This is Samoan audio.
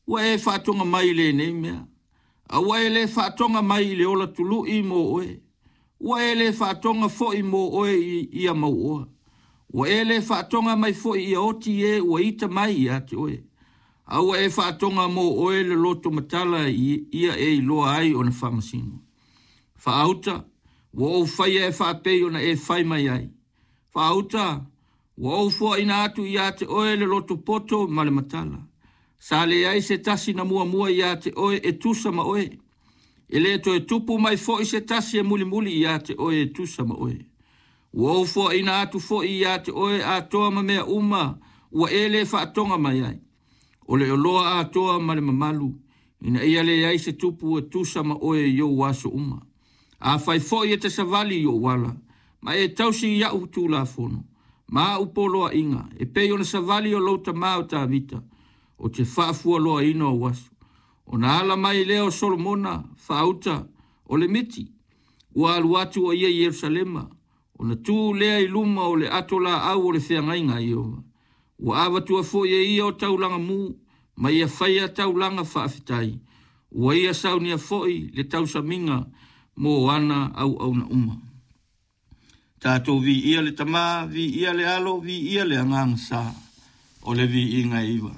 Ua e faatoga mai i lenei mea. A ua e le faatoga mai i le ola tului mo oe. Ua e le faatoga foi mo oe i ia mauoa. Ua e le faatoga mai foi ia oti e ua ita mai ia te oe. A ua e faatoga mo oe le loto matala ia e iloa ai ona faamasino. Faauta, ua ou faia e faapei ona e fai mai ai. Faauta, ua ou foaina atu ia te oe le loto poto ma le matala. Sa leai se tasi na muamua ia te oe e tusa ma oe. E le toe tupu mai foi se tasi e mulimuli ia te oe e tusa ma oe. Ua ou foaina atu foi ia te oe atoa ma mea uma ua e le faatoga mai ai. O le oloa atoa ma le mamalu, ina ia leai se tupu e tusa ma oe i ou aso uma. Afai foi e te savali i ou ala, ma e tausi i au tulafono, ma au poloaiga, e pei ona savali o lou tama o Tavita, ou te faafualoaina ou aso. Ona ala mai lea o Solomona, faauta, o le miti, ua alu atu o ia i Ierusalema, ona tu lea i luma o le ato laau o le feagaiga a Ieova. Ua avatua foi e ia o taulaga mu, ma ia faia taulaga faafetai. Ua ia saunia foi le tausamiga mo ana auauna uma. Tatou viia le Tama, viia le Alo, viia le Agaga Sa, o le viiga e iva.